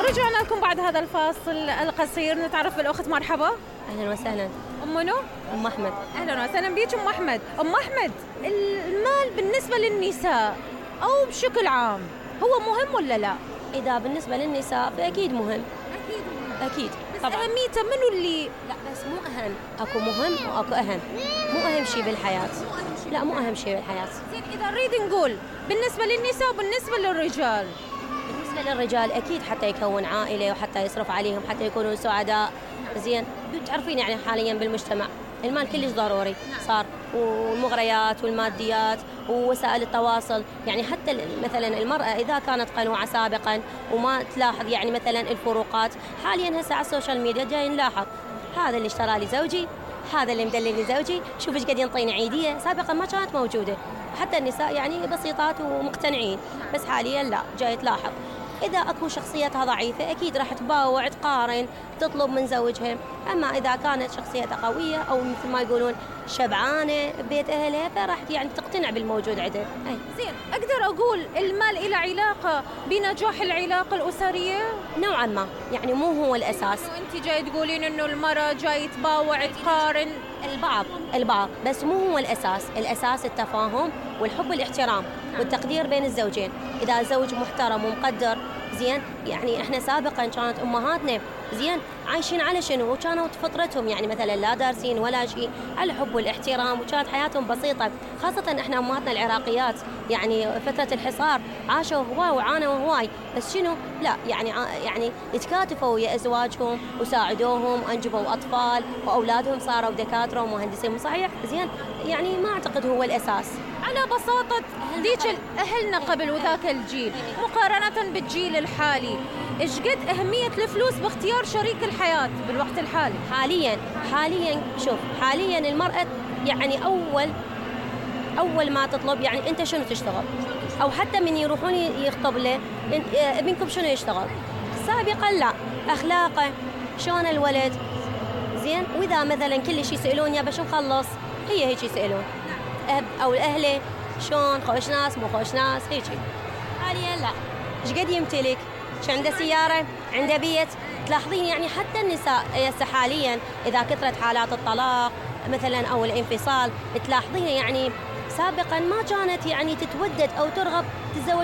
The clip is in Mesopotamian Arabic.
رجعنا لكم بعد هذا الفاصل القصير، نتعرف بالأخت. مرحبا. أهلا وسهلا. منو؟ أم أحمد. أهلا وسهلا بيك أم أحمد. أم أحمد، المال بالنسبة للنساء أو بشكل عام هو مهم ولا لا؟ إذا بالنسبة للنساء فأكيد مهم. أكيد طبعا. أهميته منو اللي لا بس مو أهم، أكو مهم وأكو أهم. مو أهم شيء بالحياة. لا مو أهم شيء بالحياة. زين إذا نريد نقول بالنسبة للنساء وبالنسبة للرجال. بالنسبة للرجال أكيد حتى يكون عائلة وحتى يصرف عليهم حتى يكونوا سعداء. زين تعرفين يعني حاليا بالمجتمع المال كلش ضروري صار، والمغريات والماديات ووسائل التواصل. يعني حتى مثلا المرأة إذا كانت قنوعة سابقا وما تلاحظ يعني مثلا الفروقات، حاليا هسه على السوشيال ميديا جاي نلاحظ هذا اللي اشترى لي زوجي، هذا اللي مدلل لي زوجي، شوف ايش قد ينطيني عيدية. سابقا ما كانت موجودة، حتى النساء يعني بسيطات ومقتنعين، بس حاليا لا، جاي تلاحظ إذا أكو شخصيتها ضعيفة أكيد راح تباوع تقارن تطلب من زوجها. أما إذا كانت شخصيتها قوية أو مثل ما يقولون شبعانة ببيت أهلها فراح يعني تقتنع بالموجود عندها. زين أقدر أقول المال إلى علاقة بنجاح العلاقة الأسرية؟ نوعا ما، يعني مو هو الأساس. أنت جاي تقولين إنه المرأة جاي تباوع تقارن. البعض بس مو هو الأساس. الأساس التفاهم والحب والاحترام والتقدير بين الزوجين. إذا زوج محترم ومقدر زين، يعني احنا سابقا كانت امهاتنا زين عايشين على شنو؟ وكانوا فطرتهم يعني مثلا لا دارسين ولا شيء، على الحب والاحترام، وكانت حياتهم بسيطه. خاصه احنا امهاتنا العراقيات يعني فتره الحصار عاشوا هواي وعانوا هواي، بس شنو؟ لا يعني يتكاتفوا ويا ازواجهم وساعدوهم وانجبوا اطفال واولادهم صاروا دكاتره ومهندسين. صحيح زين، يعني ما اعتقد هو الاساس. على بساطة ذيك أهلنا قبل وذاك الجيل مقارنة بالجيل الحالي، إيش قد أهمية الفلوس باختيار شريك الحياة بالوقت الحالي؟ حاليا شوف، حاليا المرأة يعني أول ما تطلب يعني أنت شنو تشتغل، أو حتى من يروحون يخطب له ابنكم شنو يشتغل. سابقا لا، أخلاقه شلون الولد زين، وإذا مثلا كل شيء يسألون يا باش نخلص، هي هيك يسألون أو الأهل شلون، خوش ناس مو خوش ناس هيجي. حاليا لا، ايش قد يمتلك، شو عنده سيارة، عنده بيت. تلاحظين يعني حتى النساء حاليا إذا كثرت حالات الطلاق مثلا أو الانفصال، تلاحظين يعني سابقا ما كانت يعني تتودد أو ترغب تتزوج